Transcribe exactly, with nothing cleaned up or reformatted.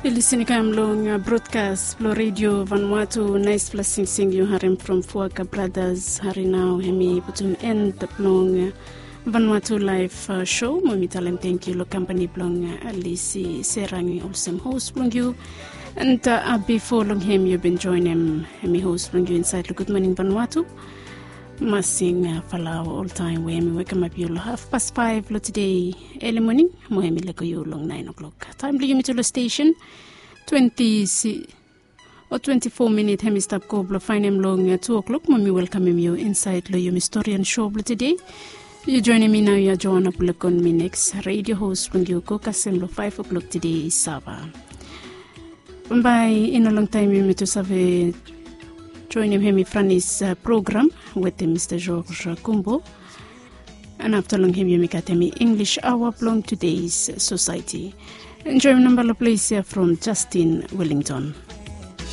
Yu lisin i kam long brodkas blong redio Vanuatu. Naispela singsing yu harim from Fuaka Brothers. Hari nau hem i putum en blong Vanuatu Live Show. Mo mi talem tenkyu long kampani blong Lisi Serangi olsem hos blong yu. And bifo long hem yu bin joinim hem i hos blong yu insaed long Gud Moning Vanuatu. Masing Falau oltaem we hem i wekemap yu long hafpas faef long tede eli moning, mo hem i lego yu long naen o'klok. Taem blong yumi tu long stesen, twenti si o twenti fo minit hem i stap go blong faenem long tu o'klok, mo mi welkamem yu insaed long yumi storian show blong tede. Yu joinim mi nau ya Joana Bulekon, mi neks redio hos blong yu go kasem long faef o'klok tede i sava. Bae i no longtaem yumi tu save joinim hem i Franis program wetem Mista George Kumbo. And afta long hem yumi gat hem i English aoa blong Today's Society. Enjoim nambala ples ya from Justin Wellington.